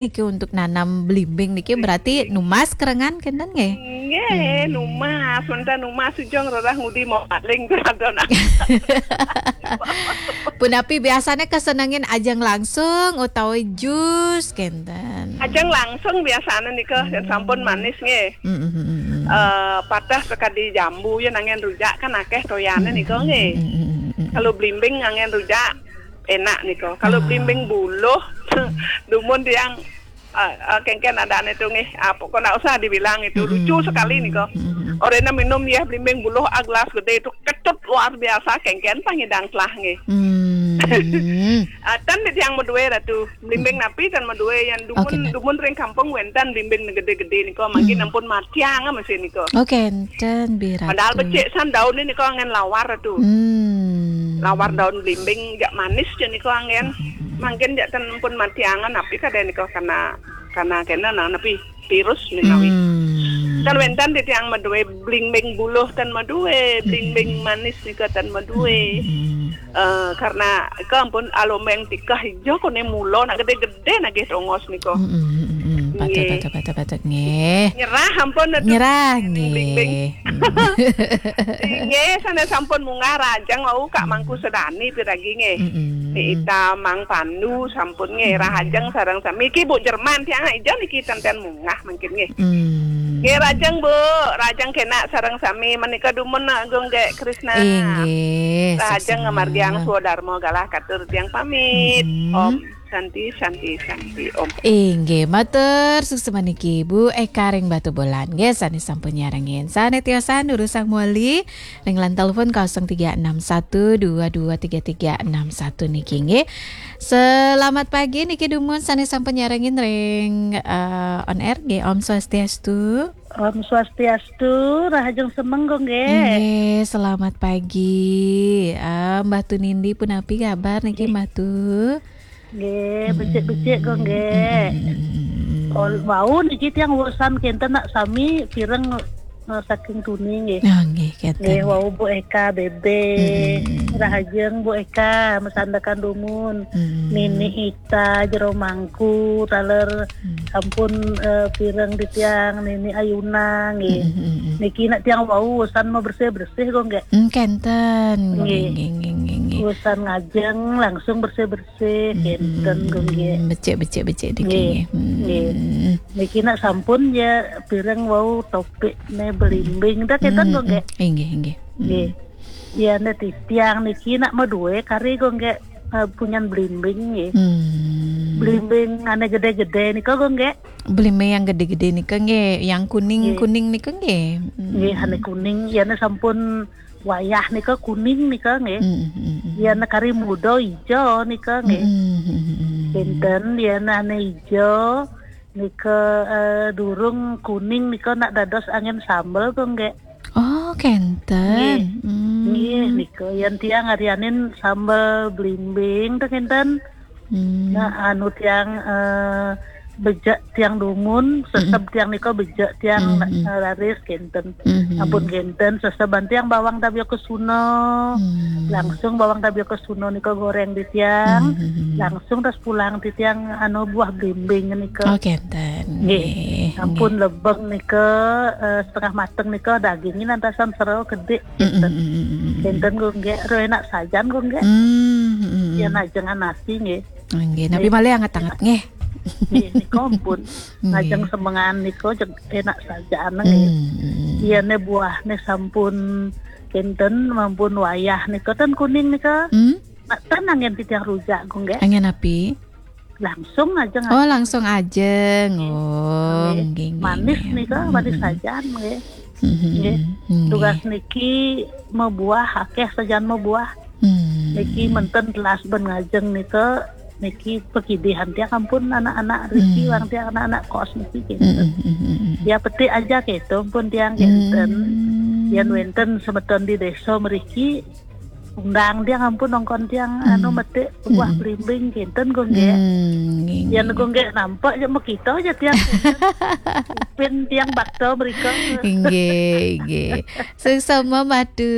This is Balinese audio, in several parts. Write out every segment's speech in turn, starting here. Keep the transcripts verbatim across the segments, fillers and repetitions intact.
niki untuk nanam belimbing niki berarti numas kerengan kenten nggih? Nggih, numas, wénten numas sujung rerah ngudi mau paling berada nak. Punapi biasanya kesenengin ajeng langsung utawi jus kenten? Ajeng langsung biasanya nika, yang sampun manis nggih. Mm, mm, mm, mm. Eh, patah sekadi jambu ya nanggen rujak kan akeh toyane nika nggih. Mm, mm, mm, mm, mm. Kalau blimbing nanggen rujak enak nika. Kalau blimbing buluh dumun tiang, eh, eh, kengken adane itu nggih. Ah, pokoknya nggak usah dibilang itu. Mm, lucu sekali nika. Mm, mm, mm. Orena minum ya blimbing buluh a gelas gede itu kecut luar biasa kengken pangidang telah nggih. Hmm. Ah, ten di tiang medue ratu. Blimbing napi ten medue yang dumun, oke, ten. Dumun ring kampung wénten blimbing gede-gede nika mangkin ampun matiang mesin nika. Oke, enten biratu. Padahal becik san daun ini kok angin lawar ratu. Hmm. Lawar daun blimbing jak manis je nika angin. Hmm. Mangkin jak ten ampun matiangan napi kada nika karena, karena kena nah napi virus menawi. Hmm. Ten wénten di tiang medue blimbing buluh ten medue, blimbing manis nika ten medue. Hmm. Eh, karena ke ampun alombeng tikah ijo kone mulo nak gede-gede nagih tongos nika. Mm, mm, mm, mm. Patut, nggih. Patut, patut, patut, nggih. Nyerah ampun, aduh. Nyerah, nggih. Blimbing. Nggih, sana sampun munggah rahajeng wau Kak Mangku Sedani piragi nggih. Mm, mm. Ni Ita Mang Pandu sampun nggih rahajeng sareng sami. Iki Bu Jerman tiang ijo niki tenten munggah mangkin nggih. Hmm. Nggih, rahajeng Bu, rahajeng kena sareng sami menika dumun nak Gung Gek Krisna. Inggih, rahajeng sukses ngamargiang swadarma galah katur tiang pamit. Mm-mm. Om Santi, Santi, Santi, Om. Inggih, matur suksma niki Bu Eka ring Batubulan. Nggih, sane sampun nyarengin. Sane tiosan durusang moli ring line telepon kosong tiga enam satu dua dua tiga tiga enam satu niki nggih. Selamat pagi niki dumun sane sampun nyarengin ring, eh, on air nggih. Om Swastiastu. Om Swastiastu, rahajeng semeng kok nggih. Nggih, selamat pagi. Ah, Mbah Tu Nindi punapi kabar niki, nggih. Mbah Tu? Nggih, becik-becik kok nggih. Mm, mm, mm, mm, mm. Ol-, wau niki tiang urusan kenten nak sami pireng, eh, saking tuni nggih. Ah, nggih, kenten. Nggih, wau Bu Eka Bebe. Mm, mm, mm, mm. Rahajeng Bu Eka, masandekan dumun. Mm. Nini Ita, Jero Mangku, taler sampun, eh, pireng di tiang, Nini Ayuna nggih. Mm, mm, mm, mm. Niki nak tiang wau urusan mau bersih-bersih kok nggih. Mm, kenten. Nggih. Nggih, nggih, nggih, nggih. Urusan ngajeng langsung bersih-bersih. Sih, kenten, Gung, nggih. Becik, becik, becik niki, nggih. Nggih. Niki nak sampun ya pireng wau topik ne belimbing. Dah kenten, Gung, nggih. Inggih, inggih. Nggih. Ya, ne titiang niki nak medue kari, Gung, nggih. Eh, punyan belimbing, nggih. Belimbing ane gede-gede nika, Gung, nggih. Belimbing yang gede-gede nika, nggih. Yang kuning-kuning nika, nggih. Nggih, ane kuning. Ya, ne sampun wayah nika kuning nika nggih. Mm, mm, mm. Yen kari muda ijo nika nggih. Mm, mm, mm, mm. Kenten yen ane ijo nika, eh, durung kuning nika nak dados angin sambel kok nggih. Oh, kenten. Nggih. Mm. Nggih, nika yen tiang arianin sambel blimbing to kenten. Hmm. Nah, anu tiang, eh, bejek tiang dumun, seseb tiang nika bejek tiang, eh, raris kenten. Hmm. Ampun kenten, seseban tiang bawang tabia kesuna. Hmm. Langsung bawang tabia kesuna nika goreng di tiang. Hmm. Langsung tas pulang di tiang anu buah blimbing nika. Oh, kenten. Nggih. Nggih. Ampun lebeng nika, eh, setengah mateng nika dagingnya nantasan sero kedik. Kenten. Mm, mm, mm, mm, mm. Kenten kok nggih, ro enak sajan kok nggih. Mm, mm, mm. Ya najengan nasi nggih. Nggih, napi malih anget-anget nggih. Nggih, nika ampun. Nggih. Ngajeng semengan nika jeg enak sajan nggih. Mm, mm, mm. Iya ne buah ne sampun kenten mampun wayah nika ten kuning nika. Mm. Nak ten angin titiang rujak kok nggih. Angin napi? Langsung aja. Oh, langsung aja. Nggih. Oh, nggih, nggih, manis nggih. Nika, manis sajan nggih. Mm-hmm. Nggih. Nggih. Tugas niki mabuah, akeh sajan mabuah. Hmm. Niki menten telas ben ngajeng nika, niki pekidihan tiang ampun anak-anak riki, hmm, wang tiang anak-anak kos niki kenten. Hmm, hmm, hmm, hmm. Ya petik aja keto pun tiang kenten. Hmm. Yan wenten semeton di desa mriki, Undang tiang ampun nongkon tiang anu metik buah belimbing kinten, Gung Gék. Hmm, nggih, nggih. Yan Gung Gék nampak aja makita aja tiang. Pin tiang bakto mriko. Inggih, inggih. Suksma Madu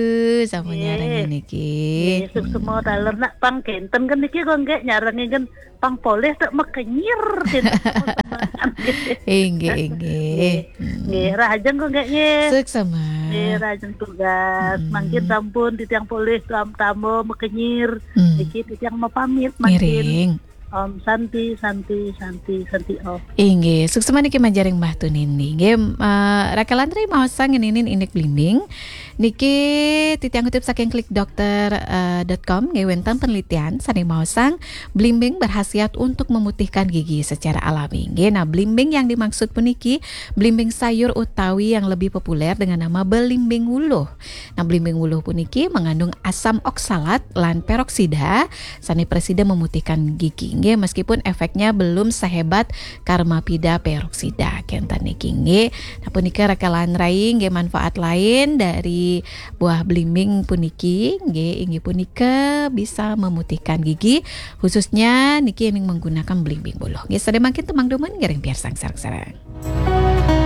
sama nyarengi niki. Nggih, suksma taler nak pang kinten kan niki, Gung Gék, nyarengi kan pang polih tak makenyir. Inggih, inggih. Nggih, rahajeng, Gung Gék, nggih. Suksma. Nggih, rahajeng tugas. Mangkin sampun titiang polih tam-, tamba makenyir. Niki titiang mapamit mangkin. Ngiring. Om Santi, Santi, Santi, Santi Om. Inggih, suksma niki manjaring Mbah Tunindi. Nggih, eh, Raka Lantri maosang ngeninin indik blimbing. Niki titiang kutip saking klikdokter dot com, nggih, wénten penelitian sané maosang blimbing berkhasiat untuk memutihkan gigi secara alami. Nggih, nah, blimbing yang dimaksud puniki blimbing sayur utawi yang lebih populer dengan nama belimbing wuluh. Nah, blimbing wuluh puniki mengandung asam oksalat lan peroksida sané presida memutihkan gigi. Nggih, meskipun efeknya belum sehebat karmapida peroksida. Kinten niki, nggih. Nah, punika Raka Lantri, nggih, manfaat lain dari buah blimbing puniki, nggih, inggih punika bisa memutihkan gigi, khususnya niki yang menggunakan blimbing wuluh. Nggih, sadaya mangkin tumang dumun ngiring piarsang sareng-sareng.